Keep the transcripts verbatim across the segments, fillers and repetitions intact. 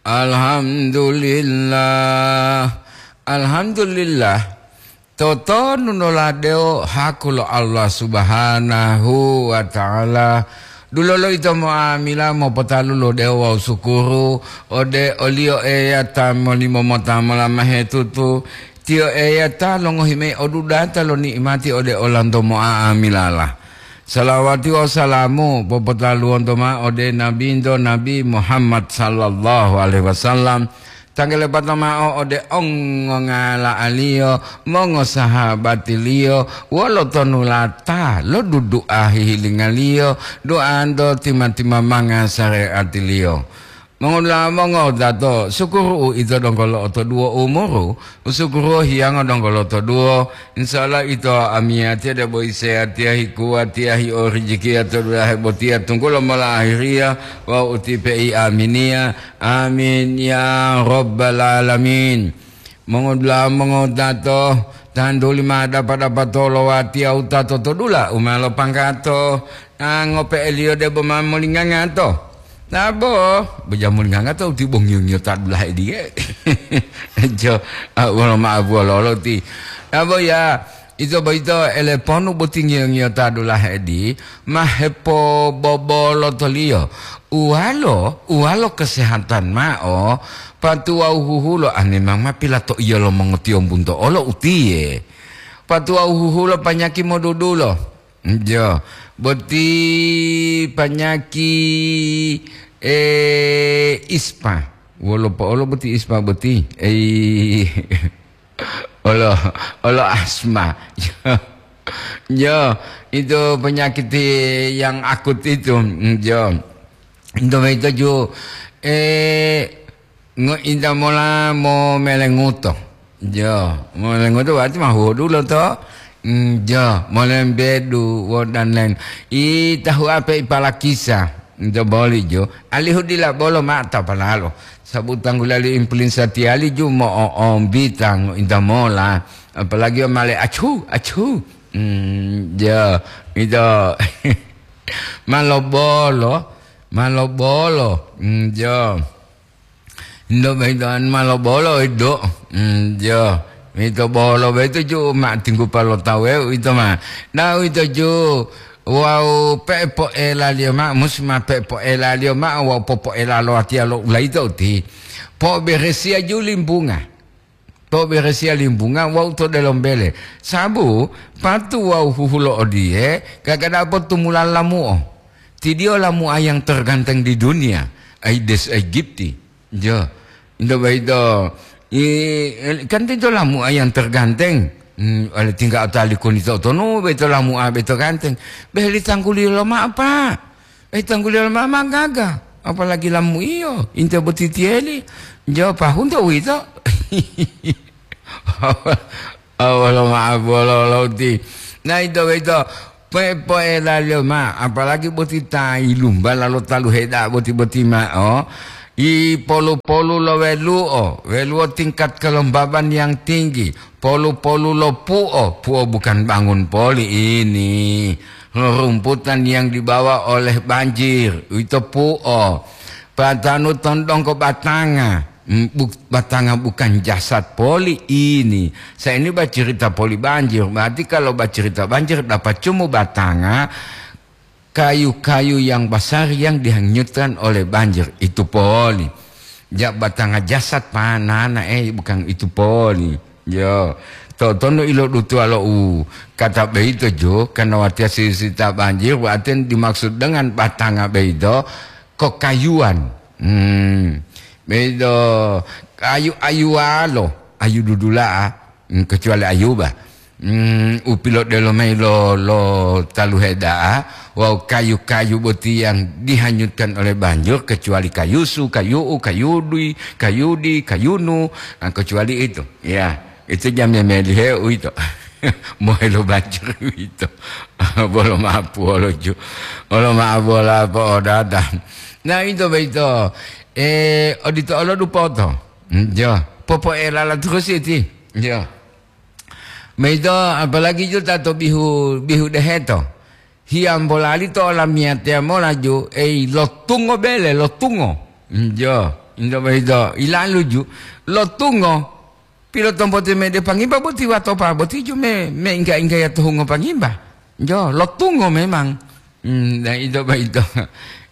Alhamdulillah. Alhamdulillah. Totonu noladewo haku lo Allah Subhanahu wa Ta'ala. Dulolo ito mo'amila mopotalu lo dewo wawu sukuru ode oliyo Eya ta molimo mota mola mahetutu. Tiyo Eya ta longohi mayi odudata lo ni'imati ode olanto mo'a'amilala. Salawati wawu salamu popotaluwonto ma'o ode Nabinto Nabi Muhammad sallallahu alaihi wasallam, tanggelepata ma'o ode ongongala'aliyo, mongosahabatiliyo, wolo tonulata lo dudu'a hihilingaliyo, du'anto tima-timamanga sare'atiliyo. Mongodula'a mongotato, sukuru uito donggo lo'otoduwo umuru, usukuru hiyango donggo lo'otoduwo. Insya Allah ito amiyatiya debo iseyatiya hikuwatiya hi'o rijikiya to dulahe botiya tunggulo mola ahiriya wawu utipe'i aminiya. Amin ya rabbal alamin. Mongodula'a mongotato, tantuli ma dapa-dapa tolowatiya wutato to dula u ma lopanggato, a ngope'eliyo debo ma molingangato. Nabo, bejamulinganga to uti bongiyo-ngiyo ta dulahe diye. Jo, a, wolo ma'abuwa lolo ti. Nabo ya, ito boyito eleponu boti ngiyo-ngiyo ta dulahe di, ma hepobobolo toliyo. Uwalo, uwalo kesehatan ma'o, patuwawu huhulo, a, memang ma pilato'iyo lo mongotiyombunto olo utiye. Patuwawu huhulo panyaki modudulo. Jo, boti panyaki, eh, ispa. Wolo po'olo boti ispa boti? Ei, olo, olo asma. Jo, itu penyakit yang akut itu. Jo. Ento boyito ju, eh, ngointa mola momelenguto. Jo, momelenguto berarti ma huwodulo to? Mm, jo, molembedu wo dan lain. I tahu ape ipalakisa? Ento boli jo. Alihu dila bolo mata palalo. Sabu tanggulali impulinsatiyali ju mo'o'ombita ngointa mola. Apalagi o male achu, achu. Mm, jo, ito. Ma lobolo, ma lobolo. Mm, jo. Ndo boyito ma lobolo ido. Mm, jo. Ito bolo boyito ju ma tinggupa lo tawu ito ma. Na ito ju wawu pe'epo'elaliyo ma'o, musi ma pe'epo'elaliyo ma'o wawu popo'ela lo watiya lo ulayito uti. Po'oberesiya ju limbunga. Po'oberesiya limbunga wawu to delombele. Sabu patu wawu huhulo odiye, gaga da'a potumula lamu'o. Tidiyo lamu'a yang terganteng di dunia, Aedes aegypti. Jo, ito boyito, i, kan ito lamu'a yang terganteng. Hmm, ale tingga otali koni to tonu boyito lamu'a boyito ganteng. Beheli tangguliyo loma'o, Pak. Eh, tangguliyo loma'o ma gaga. Apalagi lamu'iyo, inte boti tiyeli. Jo, pahunto uwito. Awolo ma'o bolo louti. Na ito boyito, po'epo'elaliyo ma'o, apalagi boti ta yilumbala lo talu heda'a boti-boti ma'o, i polu-polu lo welu'o, welu'o tingkat kelembaban yang tinggi, polu-polu lo pu'o, pu'o bukan bangun poli ini, rumputan yang dibawa oleh banjir, uwito pu'o, patanu tondongko batanga, Mm, buk-, batanga bukan jasad poli ini. Saya ini bacerita poli banjir. Berarti kalau bacerita banjir dapat cuma batanga kayu-kayu yang besar yang dihanyutkan oleh banjir. Itu poli. Ja batanga jasad panana, eh, bukan itu poli. Yo, to-, tondo ilo dutuwa lo u kata boyito jo, karena watiya sisita banjir, berarti dimaksud dengan batanga boyito, kokayuwan. Hmm. Bedo ayu-ayuwalo, ayu dudula'a, hmm, kecuali ayuba. Hmm, u pilodelo mayi lo, lo taluhe da'a, wawu kayu-kayu boti yang dihanyutkan oleh banjir, kecuali kayusu, kayu'u, kayudui, kayudi, kayunu, nah, kecuali itu. Ya, itu jambe melihe uwito. Mohelo banjir uwito. Bolo ma'apu wolo ju. Bolo ma'apu wolo apa odada. Nah, ito boyito. Eh, odito olo dupoto. Hmm, jo. Popo'elala terus iti. Jo. Maito apalagi ju ta to bihu, bihu deheto. Hiyambolali to olamiyatiya mola ju, ei, lotungo bele, lotungo. Njo, njo boyito. Ilaluju, lotungo, pilotompote mede pangimba boti watopa boti ju me, me ingga-inggaya to hungo pangimba. Njo, lotungo memang. Hmm, na ito boyito.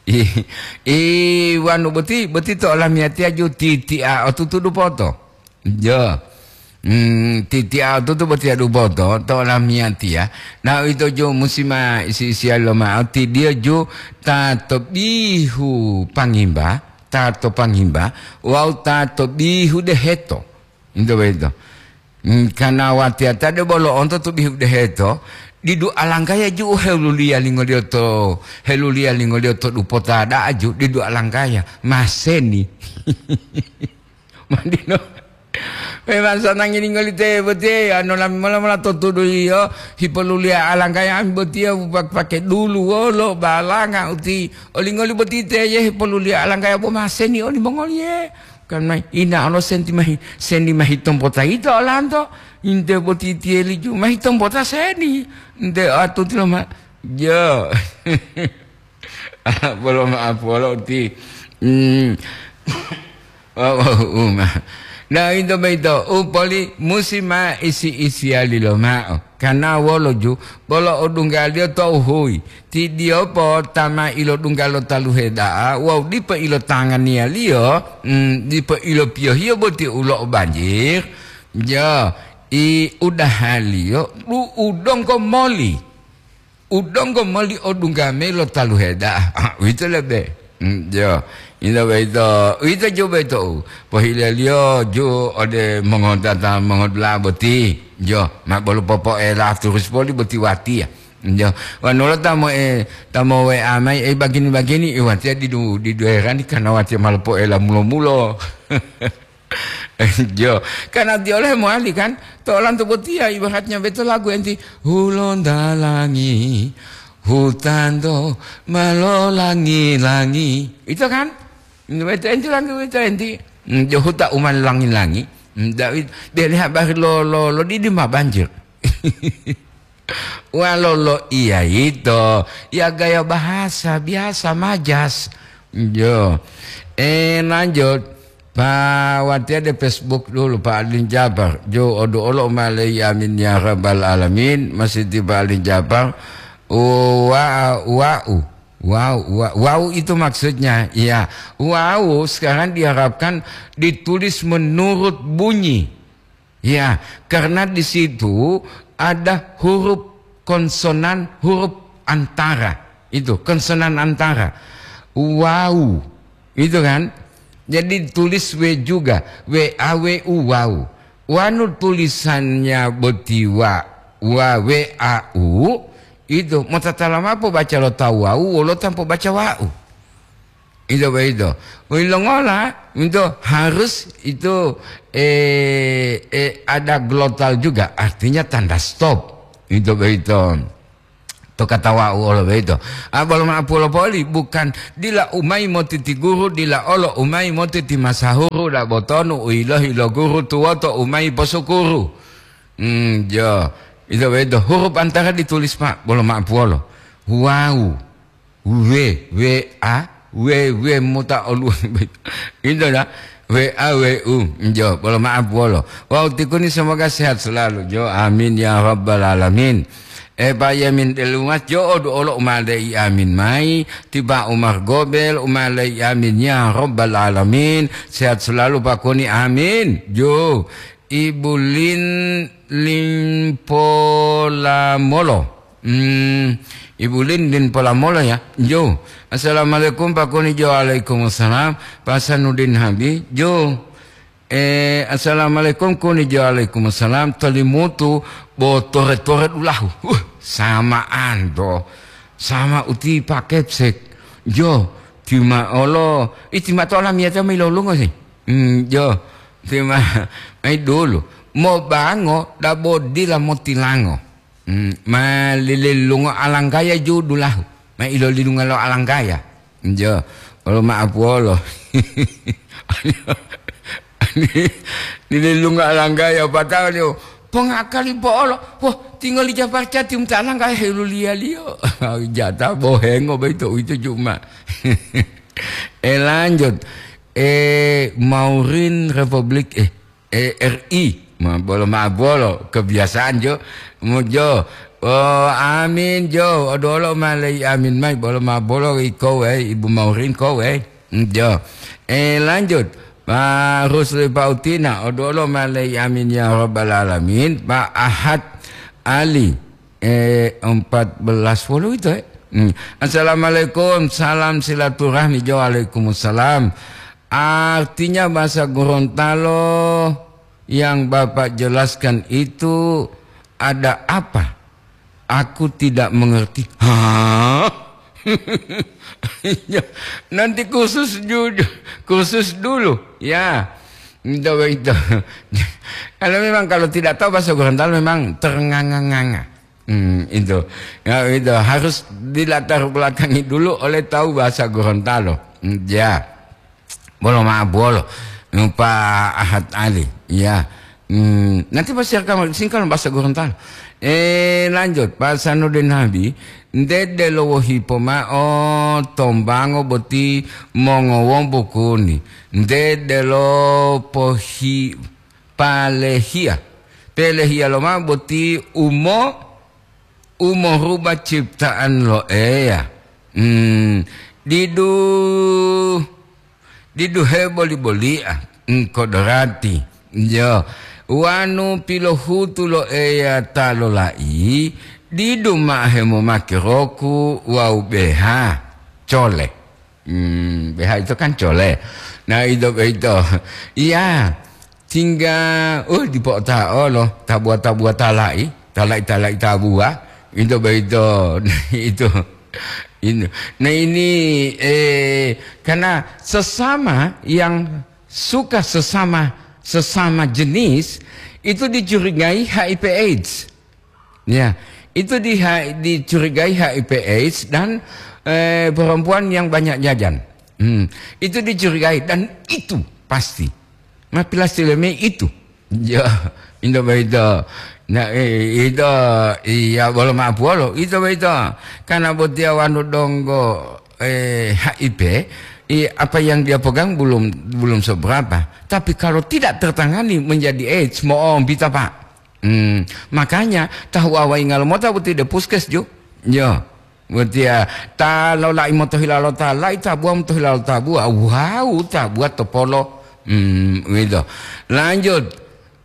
I, i wanu boti, boti to olamiyatiya ju titi'a otutu dupoto. Jo. Hmm, titi'a otutu botiya dupoto to olamiyatiya. Na uwito ju musi ma isi-isiya lomao, tidiyo ju ta to bihu pangimba, ta to pangimba, wawu ta to bihu deheto. Ito boyito. Hmm, kana watiyata de bolo onto to bihu deheto, didu alanggaya ju u heluliya lingoliyo to, heluliya lingoliyo to dupota da'a ju, didu alanggaya, maseni. Madino. Memang sanangi lingoli te botiye, ano lami mola-mola to tudu yiyo, hipoluliya alanggaya ami botiye pak-, pake dulu wolo balanga uti. Olingoli boti teye hipoluliya alanggaya bo maseni olimongoliye. Kan mai, ina olo senti mahi, seni mahi tompota ito olanto. Inte boti tiyeli ju mahi tompota seni. Inte atuti lo ma-, jo. Bolo ma'apu wolo uti. Hmm. Wawu uma. Na, ito boyito, u poli musi ma isi-isiyali lomao. Kana wolo ju, bolo odunggaliyo to huyi. Tidiyo po ta ma ilodungga lo taluhe da'a, wawu dipo ilotanganiyaliyo, mm, dipo ilopiyohiyo boti ulo o banjir. Jo, i udahaliyo, du u donggo moli. U donggo moli odungga mayi lo taluhe da'a. Ah, uwito lebe. Mm, jo. Ito boyito, uwito ju boyito u pohileliyo ju ode mongodata mongodula'a boti. Jo, ma bolo popoela turus poli boti watiya. Jo, wanulo ta mo e, ta mo W A mayi, e, bagini-bagini, e, watiya didu, didu herani karena watiya ma lopoela mulo-mulo. Jo, karena tiyo leh mowali kan, to olanto botiya ibaratnya beto lagu enti, "Hulondalangi, hutanto ma lolangi-langi." Ito kan? Weto enti langi, weto enti. Hmm, jo huta u ma lolangi-langi. Hmm, da-, deli habari lo, lo, lo didi ma banjir. Walo loiya yito, ya gaya bahasa biasa, majas. Jo. Eh, lanjut. Pa watiya de Facebook dulu, Pak Alin Jabar. Jo, odu olo umalei, amin ya rabbal alamin. Masih di Pak Alin Jabar. Wa-, wa'u. Wa'u, wa-, wa'u itu maksudnya. Iya. Wa'u sekarang diharapkan ditulis menurut bunyi. Ya, karena di situ ada huruf konsonan, huruf antara. Itu, konsonan antara. Wau. Itu kan? Jadi tulis W juga. W A W U, wau. Wanu tulisannya boti wa, wa, W A U, itu motatala mao pobaca lo tawu wau, wolo tanpa baca wau. Itu begitu. Ilongola itu harus itu, eh, eh, ada glottal juga, artinya tanda stop. Itu begitu. To kata wau olo begitu. Ah, bolo ma'apu lo poli, bukan dila umai motiti guru, dila olo umai motiti masahuru, da botonu u yilohi lo guru tuwoto umai posukuru. Hmm, jo. Itu begitu. Huruf antara ditulis, Pak, bolo ma'apu olo. Wau. W, W A, W, W mota oluwa. Itu dah. W A W U. Njo, bolo maaf wolo. Wau tikuni semoga sehat selalu. Jo, amin ya rabbal alamin. Eh, Pak Yamin Delumas, jo, odu olo umalei amin mai. Tiba Umar Gobel, umalei amin ya rabbal alamin. Sehat selalu Pak Koni, amin. Jo, Ibu Lin Limpolamolo. Hmm, Ibu Lin, Lin Polamolo ya. Jo. Assalamualaikum, Pak Kuni. Jo, waalaikumsalam. Pak Sanudin Habi. Jo. Eh, assalamualaikum, Kuni. Jo, waalaikumsalam. Tolimutu bo tore-tore dulahu. Uh, sama ando. Sama uti Pak Kepsek. Jo, tima olo. Itima to lamiyata mai lolungo sih. Hmm, jo. Tima mai dulu. Mo bango, dabo dila motilango. Hmm, ma lilelungo alanggaya ju dulahu. Ma ilolilunga lo alanggaya. Jo, olo ma'apu wolo. Lilelunga alanggaya, pata'o liyo, pongakali po'olo. Wah, tingoli japarcati muta alanggaya heluliyaliyo. Jata bohengo boyito, uwito ju ma. Eh, lanjut. Eh, Maurin Republik, eh, eh, R I. Ma-, bolo ma'o bolo, kebiasaan jo. Mo jo. Oh, amin jo. Odolo ma lei amin mai, bolo ma'o bolo iko wei, Ibu Maurin ko wei. Mm, jo. Eh, lanjut. Ma Rusli Pautina, odolo ma lei amin ya rabbal alamin. Pak Ahad Ali, eh, empat belas puluh itu, eh. Hmm. Assalamualaikum, salam silaturahmi. Jo, waalaikumsalam. Artinya bahasa Gorontalo yang Bapak jelaskan itu ada apa? Aku tidak mengerti. Hah? Ya, nanti khusus ju-, khusus dulu. Ya, itu begitu. Kalau memang kalau tidak tahu bahasa Gorontalo memang ternganga-nganga. Hmm, itu. Ya, itu harus dilatar belakangi dulu oleh tahu bahasa Gorontalo. Hmm, ya. Bolo ma'o bolo. Pak Ahad Ali. Ya. Hmm, nanti pasti akan singkal bahasa Gorontalo. Eh, lanjut. Pak Sanudin Nabi, nte delo wohi pomao tombango boti mongowombo kuni. Nte delo pohi-, palehia. Pelehia lomao boti umo, umoruba ciptaan lo Eya. Hmm, didu, didu heboli-bolia, hmm, kodorati. Jo, wanu pilohutu lo Eya ta lolai, didu ma'o hemomake roku wawu beha. Cole. Hmm, B H itu kan cole. Nah, itu, itu. Iya, tinggal, uh, dipo'ota'o lo tabuwa-tabuwa tala'i, tala'i-tala'i tabuwa. Itu, itu. Nah, itu. Ini. Nah, ini, eh, karena sesama yang suka sesama, sesama jenis, itu dicurigai H I V AIDS. Ya, itu di-, dicurigai H I V AIDS dan, eh, perempuan yang banyak jajan. Hmm, itu dicurigai dan itu pasti. Ma pilastileme itu. Ya, indo boyito. Nah, eh, itu, iya, bolo ma'o puwolo, itu boyito. Karena botiya wanu donggo, eh, H I V, i-, apa yang dia pegang belum, belum seberapa. Tapi kalau tidak tertangani menjadi AIDS, mo'ombita, Pak. Hmm, makanya tahu awai ngalomota boti de puskes ju. Yo. Botiya ta lolai motohila lo ta lai tabuwa motohila lo tabuwa. Wawu tabuwa to polo. Hmm, gitu. Lanjut.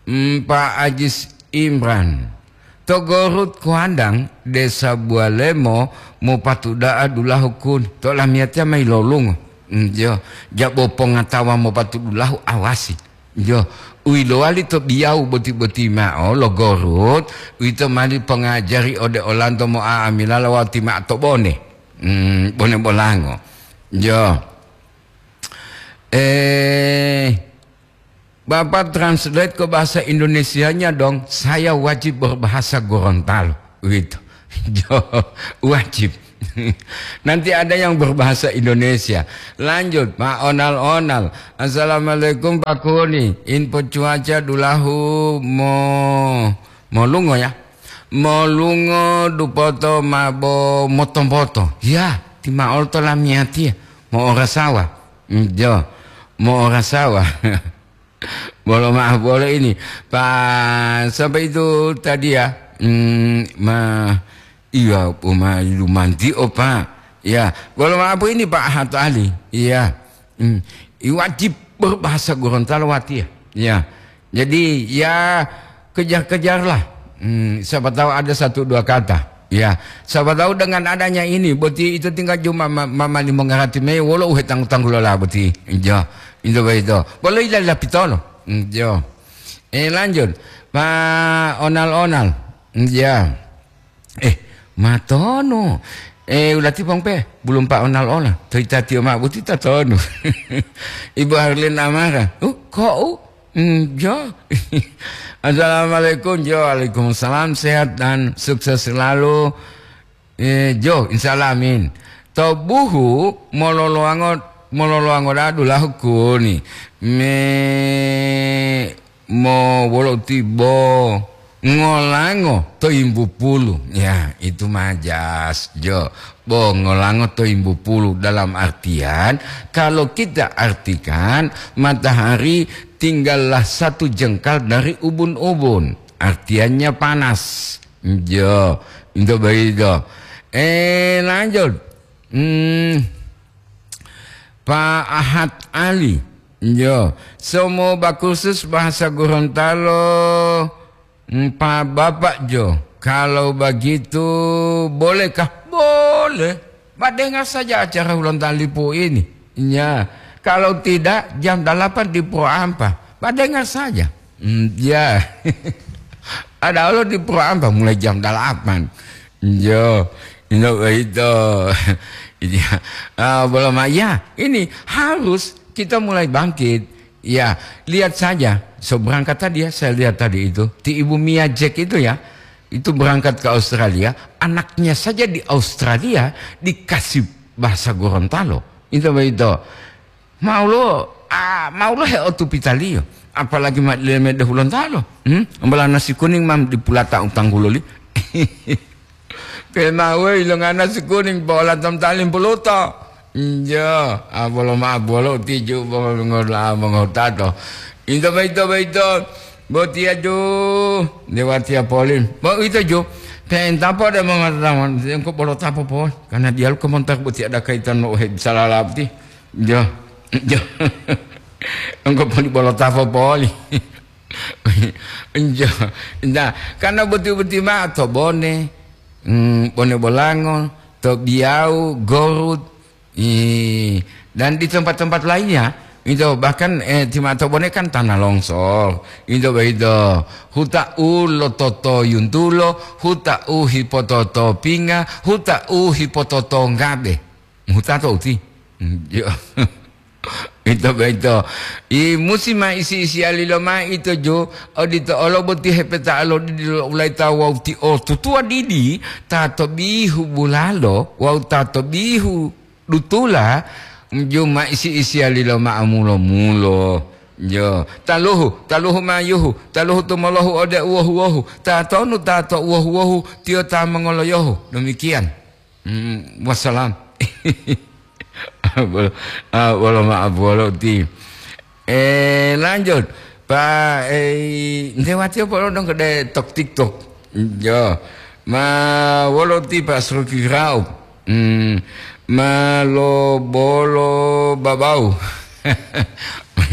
Hmm, Pak Ajis Imran. To Gorut Kuandang, Desa Bualemo, mopatuda'a dulahu kun. To lamiyatiya mayi lolungo. Hmm, yo. Jabo pongatawa mopatudulahu awasi. Jo, u yilowali to biyawu boti-boti ma'o lo Gorut, uwito mali pongajari ode olanto mo'a'amilala wawu ti ma'o to bone. Hmm, bone bolango. Jo. Eh, Bapak translate ke bahasa Indonesianya dong, saya wajib berbahasa Gorontalo. Gitu. Jo, wajib. Nanti ada yang berbahasa Indonesia. Lanjut, Pak Onal-onal. Assalamualaikum, Pak Kuni. Info cuaca dulahu mo-, molungo, ya. Molungo dupoto mabo moto-moto. Ya, ti ma'o to lamiyatiya. Mo'orasawa. Mm, jo. Mo'orasawa. Bolo ma'o bolo ini. Pa, sampai itu tadi ya. Hmm, ma, iya, poma lumanti, oh, Pak. Ya, bolo ma'o ini, Pak Hato Ali. Iya. Hmm. I wajib berbahasa Gorontalo wati ya. Ya. Jadi, ya, kejar-kejarlah. Hmm, siapa tahu ada satu dua kata. Ya, siapa tahu dengan adanya ini, boti itu tinggal cuma ma-, mamani mongarati me wolo uhe tanggu-tanggulola boti. Jo, itu begitu. Bolo ila lapitolo. Hmm, jo. Eh, lanjut. Pak Onal-onal. Hmm, ya. Eh, matonu. Eh, ulati pongpe, belum Pak Onal-onal. Toita tio ma boti tatonu. Ibu Harlin Amara. Uh, kok, uh? Hmm, jo. Assalamualaikum, jo. Waalaikumsalam. Sehat dan sukses selalu. Eh, jo, insyaallah, amin. To buhu mololowango, mololowango dadu lahukuni. Me mo wolo tibo. Ngolango to yimbu pulu. Ya, itu majas, jo. Bo ngolango to yimbu pulu dalam artian, kalau kita artikan, matahari tinggallah satu jengkal dari ubun-ubun. Artiannya panas. Jo, itu begitu. Eh, lanjut. Hmm, Pak Ahad Ali. Jo, semua kursus bahasa Gorontalo, hmm, Pak Bapak Jo. Kalau begitu, bolehkah? Boleh. Pak dengar saja acara Hulontalipu ini. Ya, kalau tidak, jam delapan di Pro Ampa. Pak dengar saja. Hmm, ya. Ada Allah di Pro Ampa mulai jam delapan. Jo, ino begitu. Iya. Ah, belum, ya, ini harus kita mulai bangkit. Ya, lihat saja. So berangkat tadi ya, saya lihat tadi itu. Ti Ibu Mia Jack itu ya, itu berangkat ke Australia. Anaknya saja di Australia dikasih bahasa Gorontalo. Itu begitu. Mau lo, ah, mau lo heotupitaliyo. Apalagi ma-, lemede Hulontalo. Hmm? Ambala nasi kuning mam dipulata utang guloli. Pena we ilonga nasi kuning, bola tam talim puluto. Injo, abolo ma bolo tiju, bolo ngola, mongotato. Into baito, baito. Botiya ju, dewatiya polin. Bo ito ju, penta po de mongatatawan, engko bolo tapo pon. Karena dialu komentar botiya ada kaitan lo he bisalala boti. Jo, jo. Engko poli bolo tapo poli. Enjo. Nah, karena boti-boti ma'o to Bone, mm, Bone Bolango, to Biyau, Gorut, i, dan di tempat-tempat lainnya, itu bahkan, eh, ti ma'o to Bone kan tanah longsor, itu begitu. Huta u lototo yuntulo, huta u hipototo pinga, huta u hipototo ngabe. Huta to uti. Mm, iya. Ito boyito. I musi ma isi-isiyali lomayi ito ju, odito olo boti hepeta'o lo didi lo ulaita wawu ti o tutuwa didi, ta to bihu bulalo wawu ta to bihu dutula, ju ma isi-isiyali loma'a mulo-mulo. Jo, taluhu, taluhu mayuhu, taluhu tumolohu ode uwohu-wohu, ta tonu ta to uwohu-wohu, tiyo ta mongoloyohu. Demikian. Hmm, wassalam. Bolo, ah, bolo maaf, bolo ti. Eh, lanjut. Pak, eh, nte watiyo polo dong kede tok TikTok. Jo. Ma wolo ti Pak Sroki Raup. Hmm, ma lo bolo babau.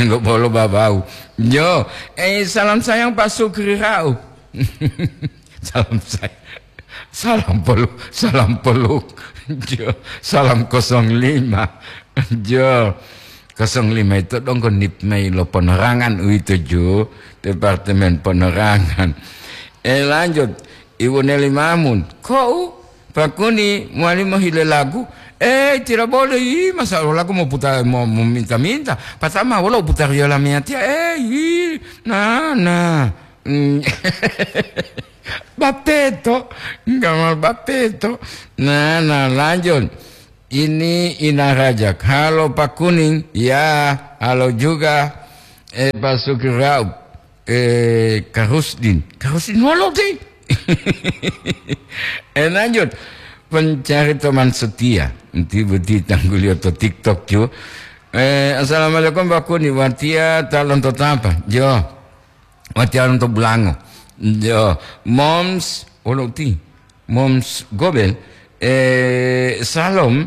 Lo bolo babau. Jo. Eh, salam sayang Pak Sukri Raup. Salam sayang. Salam pelu-, salam peluk. Jo, salam kosong lima. Jo, kosong lima itu donggo nip mayi lo penerangan uwito ju, Departemen Penerangan. Eh, lanjut, Ibu Neli Mamun. Kok u, Pak Kuni, mowali mohile lagu? Eh, tidak boleh. Ih, masa lo lagu mau putar, mau, mau minta-minta. Patama, wolo putar yola miatia. Eh, ih, nah, nah. Hmm. Bateto, gamal bateto. Nah, nah, lanjut. Ini Ina Rajak. Halo Pak Kuning. Ya, halo juga. Eh, Pak Sukirau. Eh, Karusdin. Karusdin wolo ti. Eh, lanjut. Pencari teman setia. Nanti beti tanggulio to TikTok ju. Eh, assalamualaikum Pak Kuning. Watia talon to tapa. Jo. Watiya lonto bulango. Jo, Moms, wolo uti? Moms Gobel, eh, Salom,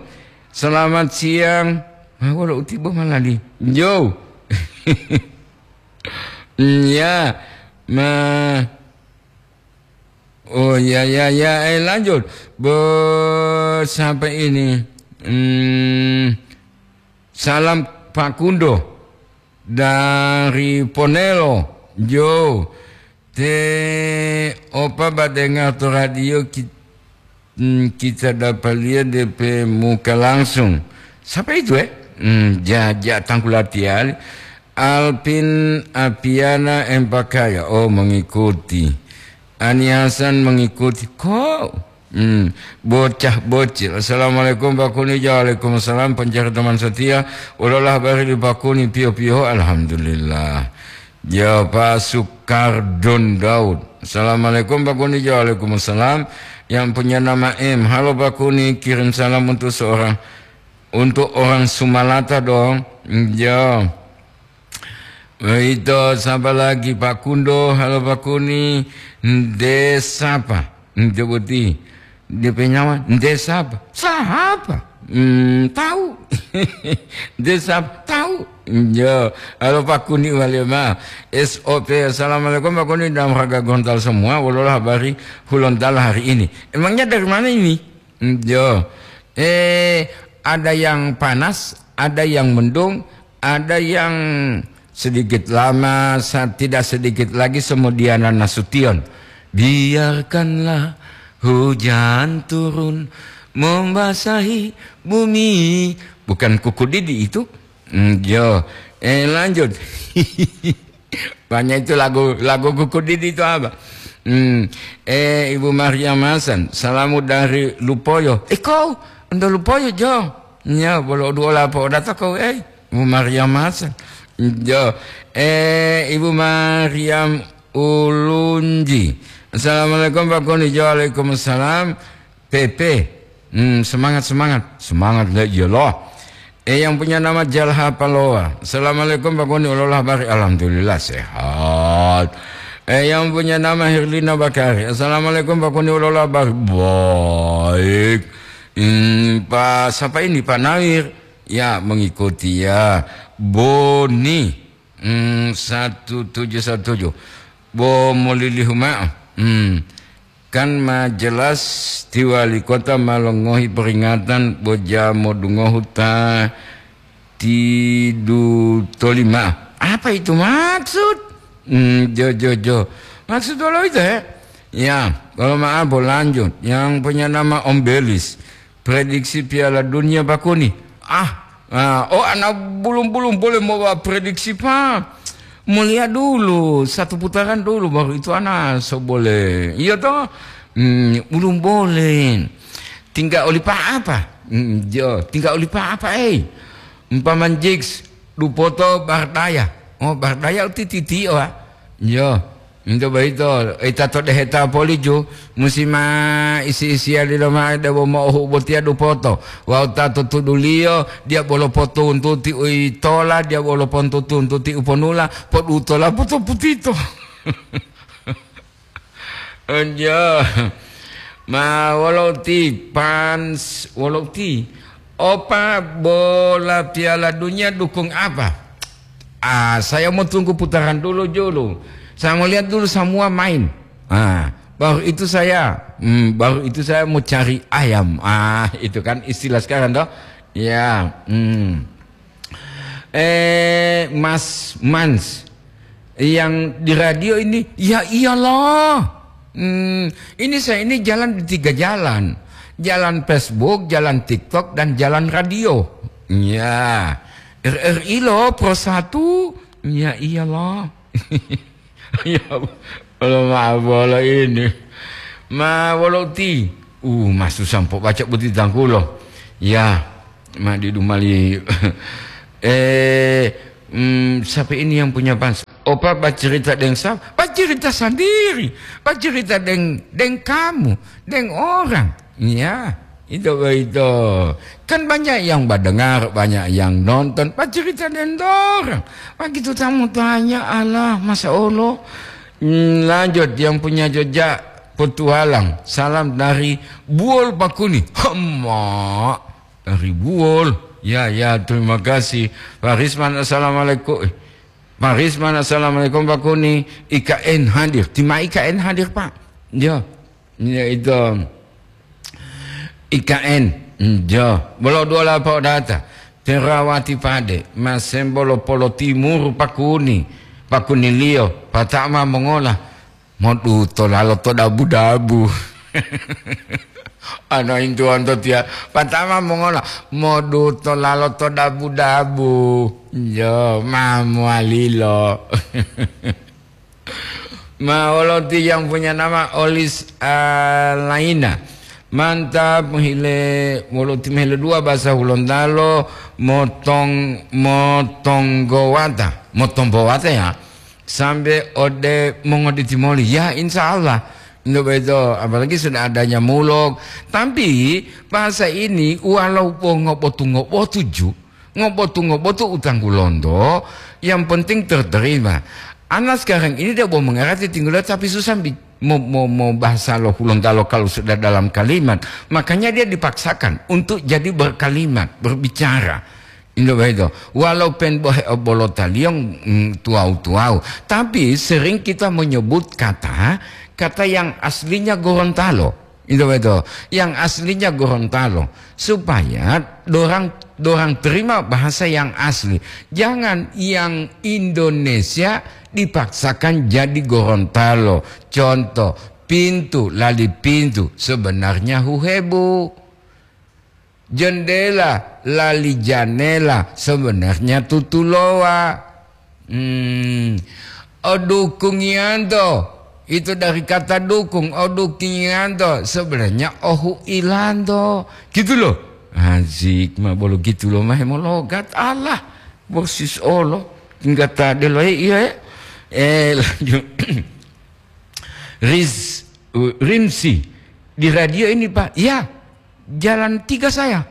selamat siang. Ma wolo uti bo malali. Jo. Ya, ma, oh, ya, ya, ya, eh, lanjut. Bo, siapa ini? Hmm, salam Pak Kundo. Dari Ponelo, jo. Te opa badengar to radio ki-, hmm, kita dapat lihat D P muka langsung. Siapa itu, eh? Hmm, ja-, ja tangkulatiali. Alvin Apiana Empakaya. Oh, mengikuti. Ani Hasan mengikuti. Kok? Hmm, bocah bocil. Assalamualaikum Pak Kuni. Waalaikumsalam, pencari teman setia. Ololah bari di Pak Kuni, pio-pio. Alhamdulillah. Ya, Pak Suk-, Kardon Daud. Assalamualaikum Pak Kuni. Waalaikumsalam. Yang punya nama M. Halo Pak Kuni, kirim salam untuk seorang, untuk orang Sumalata dong. Ya. Itu siapa lagi, Pak Kundo? Halo Pak Kuni. Nde sapa? Nde boti. Dia punya nyawa, nde sapa? Sapa? Hmm, tahu. Nde sapa? Tahu. Ya, halo Pak Kuni wale ma. S O P, assalamualaikum Pak Kuni dan warga Gorontalo semua. Wololah habari Hulontalo hari ini? Emangnya dari mana ini? Hmm, ya. Eh, ada yang panas, ada yang mendung, ada yang sedikit lama, sa-, tidak sedikit lagi semudiana Nasution. Biarkanlah hujan turun membasahi bumi. Bukan Kuku Didi itu? Hmm, yo. Eh, lanjut. Banyak itu lagu, lagu Kuku Didi itu apa? Hmm. Eh, Ibu Maria Masan, salamu dari Lupoyo. Eh, kau, ndo Lupoyo, Jo? Nya, bolo dua lapo data kau, eh. Ibu Maria Masan. Jo. Eh, Ibu Mariam Ulunji. Assalamualaikum, Pak Kuni. Jo, waalaikumsalam. P P. Hmm, semangat, semangat. Semangat, la iyalah. Eh, yang punya nama Jalha Paloa. Assalamualaikum, Pak Kuni. Wololah habari? Alhamdulillah, sehat. Eh, yang punya nama Herlina Bakari. Assalamualaikum, Pak Kuni. Wololah habari? Baik. Hmm, Pak, siapa ini? Pak Nawir. Ya, mengikuti ya. Boni. Hmm, satu tujuh satu tujuh. Bo molilihu ma'o. Hmm. Kan ma jelas ti wali kota ma longohi peringatan bo ja modungohu ta tidu tolima. Apa itu maksud? Hmm, jo, jo, jo. Maksud wolo itu, he? Ya, kalau maaf, bo lanjut. Yang punya nama Om Belis. Prediksi Piala Dunia, Pak Kuni. Ah, ah, oh, ana bulung-bulung boleh mau prediksi, Pak. Mau lihat dulu, satu putaran dulu, baru itu ana so boleh. Iya toh? Hmm, belum boleh. Tinggal oli Pak apa? Hmm, jo, tinggal oli Pak apa, eh? Umpama Jigs, Dupoto Bardaya. Oh, Bardaya uti titio, ah. Jo. Ento boyito, ita to deheta poliju, musi ma isi-isiya lilo mao debo mo'ohu botiya Dupoto. Wawu ta to tuduliyo, diya bolo potuntuti u yitola, diya bolo pontutuntuti u ponula, podutola potoputito. Onjo. Ma wolo uti pans-, wolo uti. Opa bola Piala Dunia dukung apa? Ah, saya mau tunggu putaran dulu, dulu. Saya mau lihat dulu semua main. Ah, baru itu saya, hmm, baru itu saya mau cari ayam. Ah, itu kan istilah sekarang, toh? Ya, hmm. Eh, Mas Mans, yang di radio ini, ya iyalah. Hmm, ini saya ini jalan di tiga jalan. Jalan Facebook, jalan TikTok, dan jalan radio. Ya, R R I loh, Pro satu. Ya iyalah. Ya, kalau ma bola ini. Ma wolo uti. Uh, masu sampo baca buti tangkulo. Ya, ma di dumali. Eh, mm, siapa ini yang punya bansa? Opa bacerita deng siapa? Bacerita sendiri. Bacerita deng, deng kamu, deng orang. Ya, itu, itu. Kan banyak yang mendengar, banyak yang nonton. Bacerita deng orang. Begitu tamu tanya, "Alah, masa Allah?" Hmm, lanjut, yang punya jejak petualang. Salam dari Buol Pakuni. Hema, dari Buol. Ya, ya, terima kasih. Pak Risman, assalamualaikum. Eh, Pak Risman, assalamualaikum, Pak Kuni. I K N hadir. Tima I K N hadir, Pak. Ya, ya, itu. I K N, jo, bolo dua lapao data. Terawati pade, masembo lo polo timuru Pakuni, Pakuniliyo, patama mongola, moduto lalo to dabu-dabu. Ano intuwonto tiya, patama mongola, moduto lalo to dabu-dabu. Jo, mamualilo. Ma wolo ti yang punya nama Olis, ah, Laina. Mantap, hile, wolo ti mehile dua bahasa Hulontalo, motong, motonggowata. Motonggowata ya. sampai ode mongoditimoli. Ya, insya Allah. Nggak begitu, apalagi sudah adanya mulok. Tapi bahasa ini walaupun ngobotu-ngobotu ju, ngobotu-ngobotu utang Hulondo, yang penting terterima. Anak sekarang ini dia mau mengerti tinggal tapi susah bi-, mau, mau, mau bahasa lo Hulontalo kalau sudah dalam kalimat. Makanya dia dipaksakan untuk jadi berkalimat, berbicara. Indo begitu. Walau pen bohe obolota liong, mm, tuau-tuau. Tapi sering kita menyebut kata, kata yang aslinya Gorontalo. Indo begitu. Yang aslinya Gorontalo. Supaya dorang, dorang terima bahasa yang asli. Jangan yang Indonesia dipaksakan jadi Gorontalo. Contoh, pintu, lali pintu, sebenarnya huhebu. Jendela, lali janela, sebenarnya tutulowa. Hmm. Odukungianto, itu dari kata dukung. Odukungianto, sebenarnya ohu ilanto. Gitu loh. Asik, ma bolo gitu loh, mahe mologat. Allah, bosis olo. Tinggal tadi loh, iya, ya. Eh, lanjut. Riz, uh, Rimsi, di radio ini, Pak. Ya, jalan tiga saya.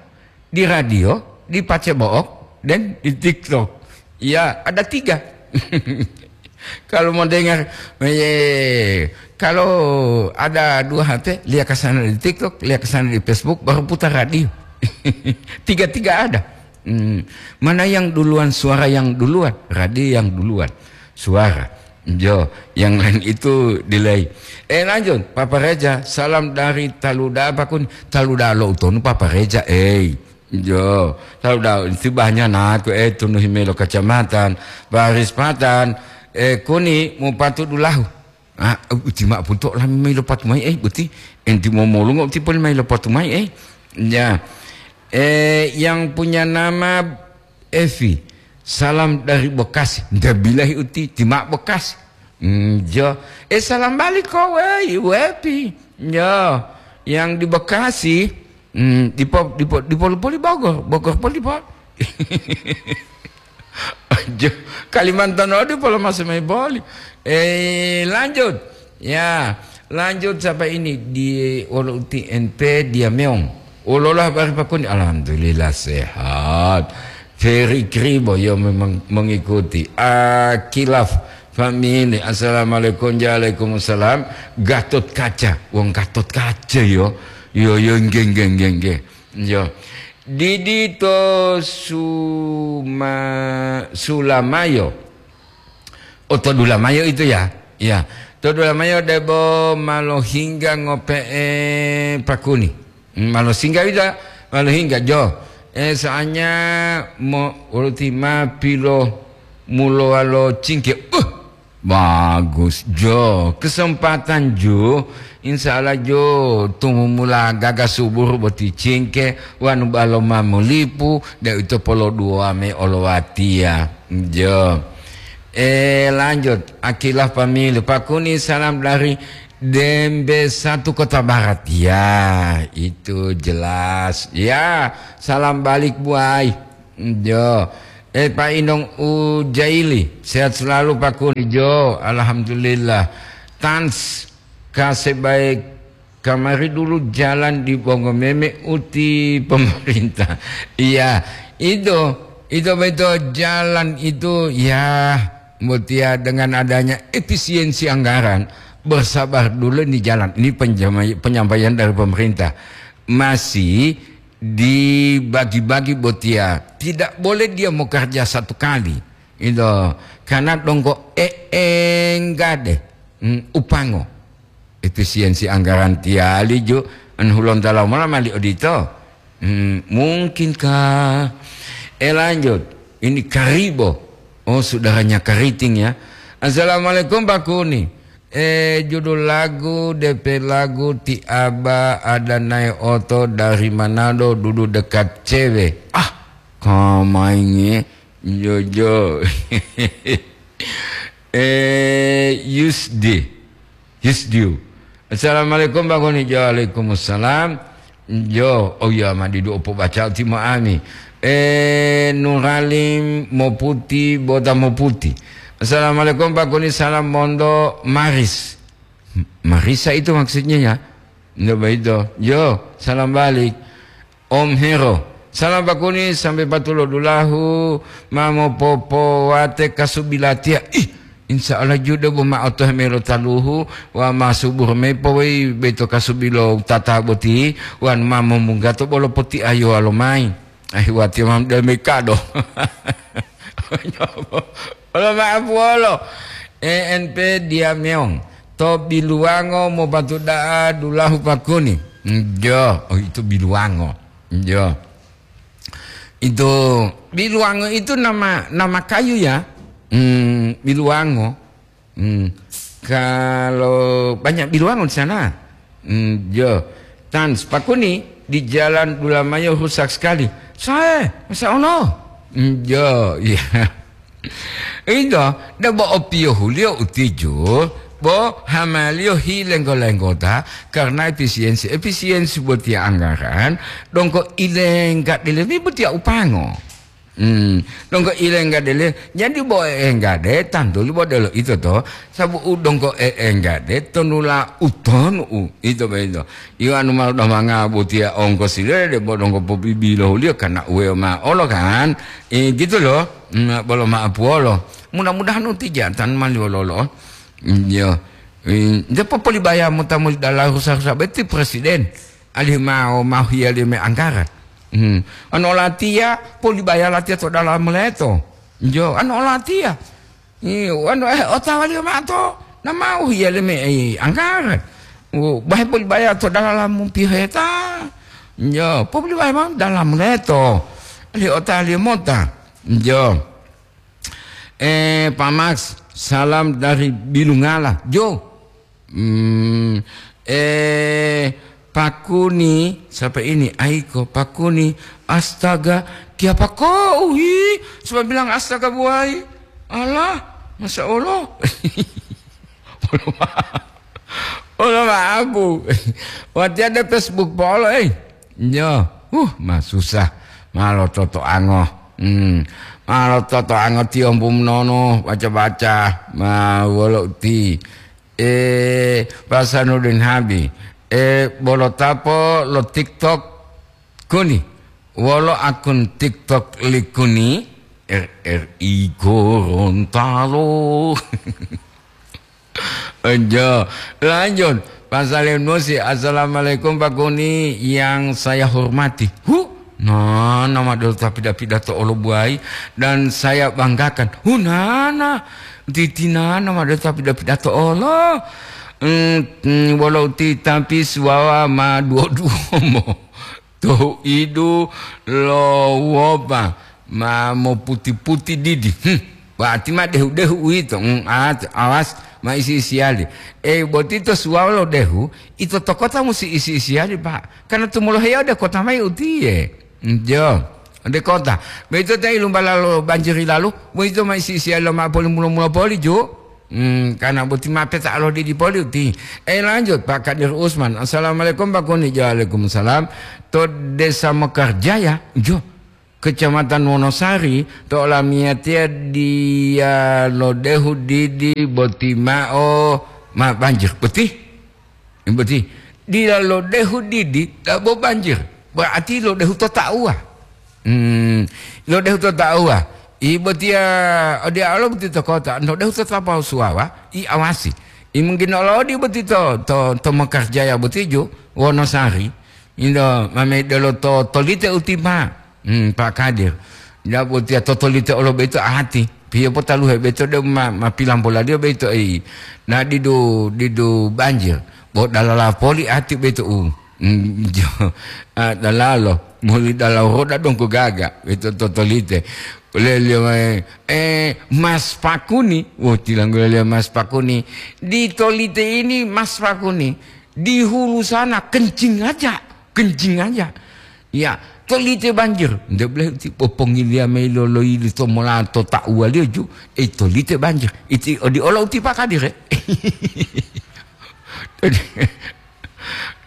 Di radio, di Pacebook, dan di TikTok. Ya, ada tiga. Kalau mau dengar, eh, kalau ada dua H P, lihat ke sana di TikTok, lihat ke sana di Facebook, baru putar radio. Tiga-tiga ada. Hmm. Mana yang duluan, suara yang duluan, radio yang duluan, suara. Jo, yang lain itu delay. Eh, lanjut, Papa Reja, salam dari Taluda, apa kun? Taluda lo utonu, Papa Reja, eh. Jo, Taluda, itu banyak naku, eh, tunu himelo kacamatan, baris patan, eh, kuni mupatu dulahu. Ah, uti mak punto lami mai lopatu mai, eh, buti. Enti momolungo uti poli mai lopatu mai, eh. Ya. Eh, yang punya nama Evi, salam dari Bekasi. Nda bilahi uti, timak Bekasi. Hmm, jo. Eh, salam balik kowe, wepi. Jo. Yang di Bekasi, hmm, di po-, di po-, di poli-poli Bogor, Bogor poli po-. Jo. Kalimantan odi polo masih mai boli. Eh, lanjut. Ya, lanjut sampai ini di wolo uti N P dia meong. Wololah bari pakuni, alhamdulillah sehat. Ferry Kribo yo memang mengikuti. Akilaf family, assalamualaikum, waalaikumsalam. Gatot Kaca, wong Gatot Kaca yo. Yo, yo, nggih, nggih, nggih, nggih. Yo. Didi to Suma-, Sulamayo. Oh, to dulamayo itu ya? Ya. To dulamayo debo malo hingga ngope'e pakuni. Hmm, malo singga ida, malo hingga jo. Eh, soalnya mo, uruti ma pilo mulowa lo cingke. Uh, bagus jo. Kesempatan jo. Insya Allah jo. Tumumula gaga subur boti cingke. Wanu balo ma molipu. De ito polo dua me olowatia. Jo. Eh, lanjut. Akilah pamilu. Pakuni salam dari Dembe satu Kota Barat. Ya, itu jelas. Ya, salam balik, buai. Jo. Eh, Pak Inong Ujaili, sehat selalu, Pak Kuni. Jo, alhamdulillah. Tans, kasih baik. Kamari dulu jalan di Bongomeme uti pemerintah. Iya, itu, itu betul jalan itu, ya, mutia dengan adanya efisiensi anggaran, bersabar dulu di jalan. Ini penjama-, penyampaian dari pemerintah. Masih dibagi-bagi botia. Tidak boleh dia mau kerja satu kali. Itu karena dongko e enggak deh. Hmm, upango. Efisiensi anggaran tiali ju, an hulon talau mala mali odito. Hmm, mungkinkah? Eh, lanjut. Ini Karibo. Oh, saudaranya Kariting ya. Assalamualaikum, Pak Kuni. Eh, judul lagu, D P lagu, Ti Aba ada naik oto dari Manado, duduk dekat cewek. Ah, kamainge. Jojo. Eh, Yusdi. Yusdiu. Assalamualaikum, Bang Kuni. Waalaikumsalam. Jo, oh iya, ma didu opo baca timo ami. Eh, Nuralim Moputi, Bota Moputi. Assalamualaikum, Pak Kuni, salam monto Maris. Marisa itu maksudnya ya? Ndak begitu. Yo, salam balik. Om Hero. Salam Pak Kuni sampai patulo dulahu, ma mopopowate kasubi latiya. Ih, insya Allah judo bo ma otohe melo taluhu, wa ma subur me powei beto kasubi lo tata boti, wan ma momunggato bolo poti ayo alo mai. Ahi wati mam demi kado. Olo maaf wolo. E N P Diameong. To biluwango mopatu da'a dulahu Pak Kuni. Njo, oh itu biluwango. Njo. Itu biluwango itu nama nama kayu ya. Hmm, biluwango. Hmm. Kalau banyak biluwango di sana. Hmm, yo. Tans, Pak Kuni di Jalan Dulamayo rusak sekali. Sae, masa ono? Hmm, yo, iya. Ito, debo opiyohuliyo utiju, bo hamaliyo hilenggo-lenggota karena efisiensi. Efisiensi botiya anggaran, dongko ilengga delemi botiya upango. Hmm, donggo ilengga dele, jadi bo enggade, tantu li bo delo ito to, sabu u donggo e enggade, tonula utonu u, ito be ito. Iyo anu malu damanga botiya ongkosile, debo donggo pobibilohuliyo karena uwe ma olo kan. Eh, gitu loh. Hmm, bolo maapuwolo. Mudah-mudahan uti jatan mali wololo. Iya. Eh, nde popolibaya mota muli dala rusa-rusa beti presiden. Alihu mau, mau hiyali me anggaran. Hmm. Anu olatiya, polibaya latiya to dalam leto. Njo, anu olatiya. Iyo, anu, eh, otawaliyo mao to, na mau hiyali me, eh, anggaran. Oh, bahe polibaya to dalam mumpiheta. Njo, polibaya mao dalam leto. Alihu otaliyo mota. Njo. Eh, Pak Max, salam dari Bilungala. Jo. Hmm, eh, Pak Kuni, siapa ini? Aiko, Pak Kuni. Astaga, kiapa kau, hi? Coba bilang astaga, buai. Alah, Masya Allah. Olo ma-, olo ma'aku. Watiya de Facebook polo, eh. Nyo, huh, ma susah. Ma lototoango. Hmm. Ma lototoango tiyombu monono, baca-baca. Ma wolo uti. Eh, Pak Sanudin Habi. Eh, bolo tapo lo TikTok Kuni. Wolo akun TikTok li Kuni? R R I Gorontalo. Enjo, lanjut. Pak Salim Nusi, "Assalamualaikum Pak Kuni yang saya hormati." Hu, nana madelo ta pida-pidato olo buai dan saya banggakan. Hu, nana, titi nana madelo ta pida-pidato olo. Hmm, hmm, wolo uti tapi suwawa ma duo-duo mo. To idu lo wopa ma moputi-puti didi. Hmm, wati ma dehu-dehu uwito. Hmm, at-, awas ma isi-isiyali. Eh, boti to suwalo dehu, ito to kota musi isi-isiyali, Pak. Karena tumoloheya ode kota mayi utiye. Hmm, jo, ode kota. Boyito ta ilumbala lo banjiri lalu, boyito ma isi-isiyali lo ma poli mulo-mulo poli, ju. Hmm, karena boti ma peta lo didi poli uti. Eh, lanjut, Pak Kadir Usman. "Assalamualaikum, Pak Kuni." "Waalaikumsalam." To Desa Mekarjaya, jo. Kecamatan Wonosari, to olamiyatiya diya lodehu didi boti mao ma banjir. Boti? Boti. Dila lodehu didi, dabo banjir. Berarti lodehu to tauwa. Hmm, lodehu to tauwa. I botiya, odiya olo boti to kota, lodehu to tapau suwawa, i awasi. I mungkin olo odi boti to, to, to Mekarjaya boti ju, Wonosari. Indo, mame delo to, tolite uti, Pak. Hmm, Pak Kadir. Nda botiya totolite olo beto ati. Piye potaluhe beto de ma, ma pilamboladiyo beto, ei. Na didu, didu banjir. Bo dalala poli ati beto u. Hmm, jo. Ah, dalalo. Muli dalalo roda dongko gaga. Beto totolite. Lelio, eh, eh, Mas Pakuni. Wo, tilanggo lelio Mas Pakuni. Di tolite ini Mas Pakuni. Di hulu sana kencing aja. Kencing aja. Ya, tolite banjir. Nde boleh ti popongiliya mayi lo loyili to mola to tauwaliyo ju, eh, tolite banjir. Iti odi olo uti Pak Kadir, eh.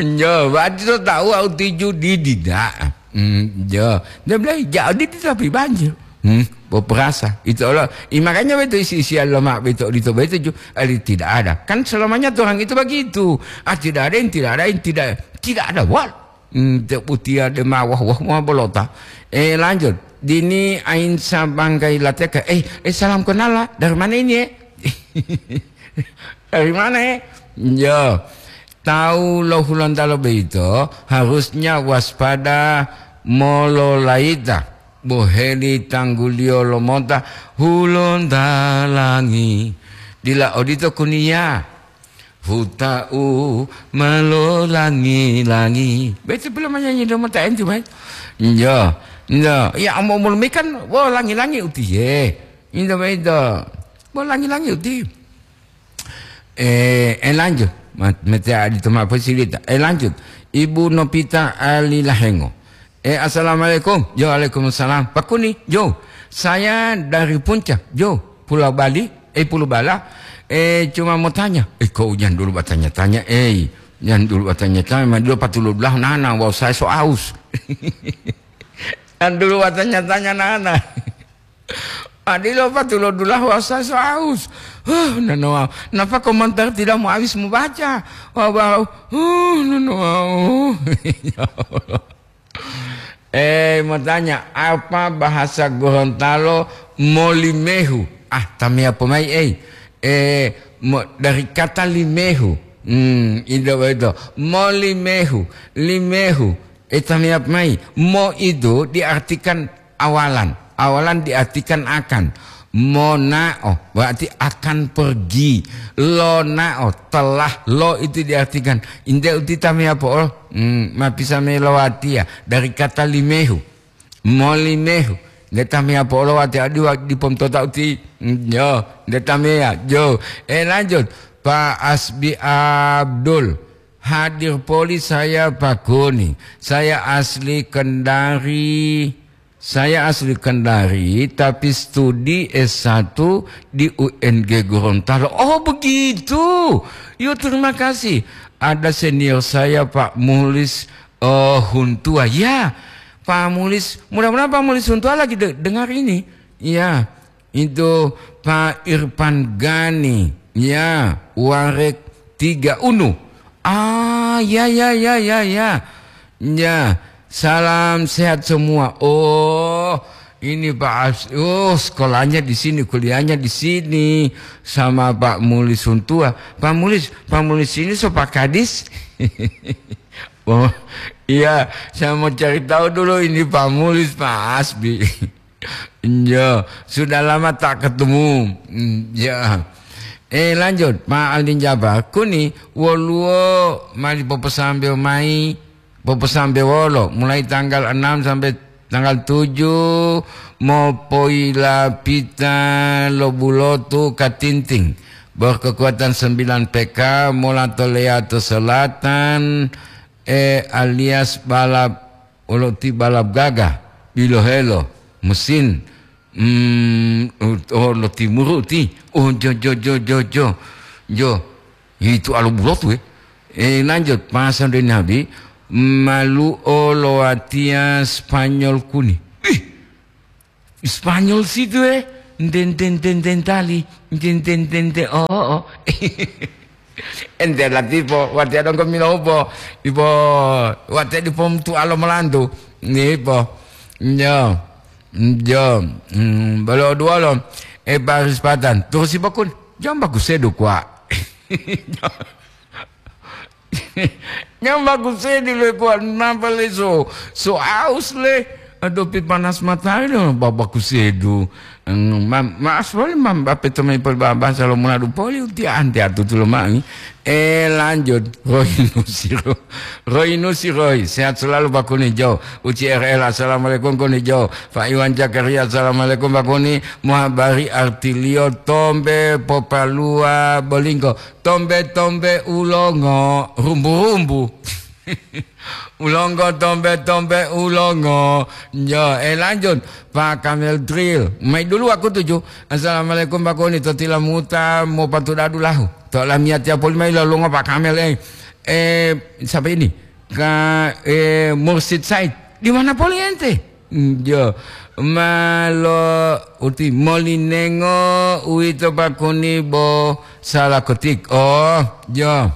Njo, berarti to tauwa uti ju didi, dak. Hmm, ya. Dia bilang, "Ya, dia tapi banjir." Hmm, berperasa. Itu Allah. I, makanya betul isi-isian lemak betul itu, betul ju-, eh, tidak ada. Kan selamanya orang itu begitu. Ah, tidak ada yang tidak ada, yang tidak, tidak ada. Wal. Hmm, te utia de ma wah, wah, wah, bolota. Eh, lanjut. Dini ain sabangkai lateka. Eh, eh, salam kenal lah. Dari mana ini, eh? Dari mana, eh? Ya. Tahu lo Hulontalo beito harusnya waspada mololaita. Boheli tangguliyo lomota Hulontalangi. Dila odito kuniya. Huta'u ma lolangi-langi. Betul belum menyanyi dong mata enti, Mas? Iya. Iya, ya umur-umur mi kan, wah, langi-langi utiye. Inda bedo. Wah, langi-langi uti. Eh, eh, lanjut. Mat-, mete adi toma apa silita. Eh, lanjut. Ibu Nopita Ali Lahengo. Eh, assalamualaikum. Yo, waalaikumsalam. Pak Kuni, yo. Saya dari Puncak, yo. Pulau Bali, eh, Pulau Bala. Eh, cuma mau tanya. Eh, kok jangan dulu bertanya-tanya, eh. Jangan dulu bertanya-tanya, ma dulu patulud lah nana, wau saya so aus. Jangan dulu bertanya-tanya nana. Adilo patulud lah wau saya so aus. Huh, nana wau. Napa komentar tidak mau habis mau baca? Wau, wau. Huh, nana wau. Ya Allah. Eh, mau tanya, apa bahasa Gorontalo molimehu? Ah, tamia pomai, eh. Eh, mo-, dari kata limehu. Hmm, itu, itu. Molimehu, limehu. Eh, tamia pomai. Mo itu diartikan awalan. Awalan diartikan akan. Monao, berarti akan pergi. Lonao, telah. Lo itu diartikan. Inde uti tamia po'o. Hmm, ma bisa melowati ya. Dari kata limehu. Molimehu. Nde tamia po'o lowati adi wa-, di pomtota uti. Hmm, yo, nde tamia. Yo. Eh, lanjut. Pak Asbi Abdul. Hadir poli saya Pak Kuni. Saya asli Kendari. Saya asli Kendari, tapi studi S satu di U N G Gorontalo. Oh, begitu. Yo, terima kasih. Ada senior saya, Pak Mulis, eh, Huntua. Ya, Pak Mulis. Mudah-mudahan Pak Mulis Huntua lagi de-, dengar ini. Ya, itu Pak Irfan Gani. Ya, Warek Tiga Unu. Ah, ya, ya, ya, ya, ya. Ya, salam sehat semua. Oh, ini Pak As-, oh, sekolahnya di sini, kuliahnya di sini sama Pak Mulis Huntua. Pak Mulis, Pak Mulis ini so Pak Kadis? Oh, iya, saya mau cari tahu dulu ini Pak Mulis, Pak Asbi. Iya, sudah lama tak ketemu. Mm, ya. Eh, lanjut, Pak Aldin Jabar. Kuni, woluwo mali poposambewo mayi, poposambewo wolo, mulai tanggal enam sampai tanggal tujuh, mopoyilapita lo bulotu Katinting, berkekuatan sembilan P K, mola to Leato Selatan, eh, alias balap, olo ti balap gagah, bilohelo, mesin, mm, oh, lo timuru ti, oh, jo, jo, jo, jo, jo, jo, itu alo bulotu, eh. Eh, lanjut, pasal dari Nabi, malu olo watia Spanyol Kuni. Ih, Spanyol situ, eh. Nten, ten, ten, ten, tali. Nten, ten, ten, ten, oh, oh. Ente latipo, wate adonggo minopo. Ipo, wate dipo mutu alo melantu. Nipo. Njo. Njo. Hmm, bolo duolo. Eh, baris patan. Terus si bakun. Jam bagus sedu kwa. Nyamba kusedi le kuwa, napa le so, so aus le. Aduh, pi panas matahari lo, baba kusedu. Eng, ma-, maaf wali, mam, bape tomai poli baba, salo muna du poli, uti ante atutu lo mai. Eh, lanjut. Roy Nusiro. Roy Nusiroi. Sehat selalu, Pak Kuni Jo. Uci R L, assalamualaikum, Kuni Jo. Pak Iwan Zakaria, assalamualaikum, Pak Kuni. Muhabari artilio tombe popalua bolinggo. Tombe-tombe ulongo, rumbu-rumbu. Ulongo, tombe-tombe ulongo. Yo, eh, lanjut. Pak Kamel Drill. Mai dulu aku tuju. Assalamualaikum, Pak Kuni. To tilamuta mo patu dadu lahu. To lamia tiapoli mai lolongo, Pak Kamel, eh. Eh, siapa ini? Ka, eh, Mursid Said. Di mana poli ente? Jo, malo uti molinengo uwito pakuni bo sala ketik. Oh, jo.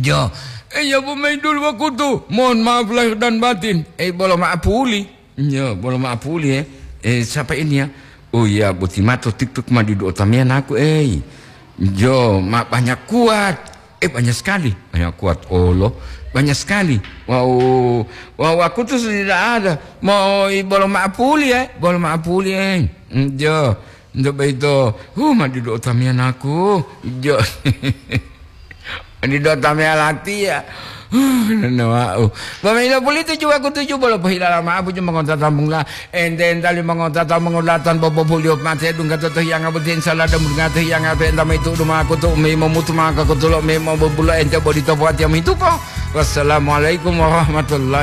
Jo. Eh, ya, bu main dulu wakutu. Mohon maaf lahir dan batin. Eh, bolo maaf puli. Jo, bolo maaf puli, eh. Eh, siapa ini ya? Oh iya, boti mato TikTok ma didu otamia naku, eh. Jo, ma banyak kuat. Eh, banyak sekali. Banyak kuat, olo. Banyak sekali. Wow, wow, aku tuh tidak ada. Mau i-, bolo maaf puli, eh. Bolo maaf puli, eh. Mm, jo. Untuk begitu, huh, ma didu otamia naku. Jo. Didu otamia latiya. Huh, nana wau. Bama ilo puli tuju waku tuju bolo pohilala maaf puju mongotata mungla. Ente entali mongotata mongolatan bobo bulio mate dungga toto hiyanga boti insala dan dungga to hiyanga pe entama itu duma aku tu umi momutu maka kutulo umi mobubulo ente bodi topo ati ami tupo. Wassalamualaikum warahmatullahi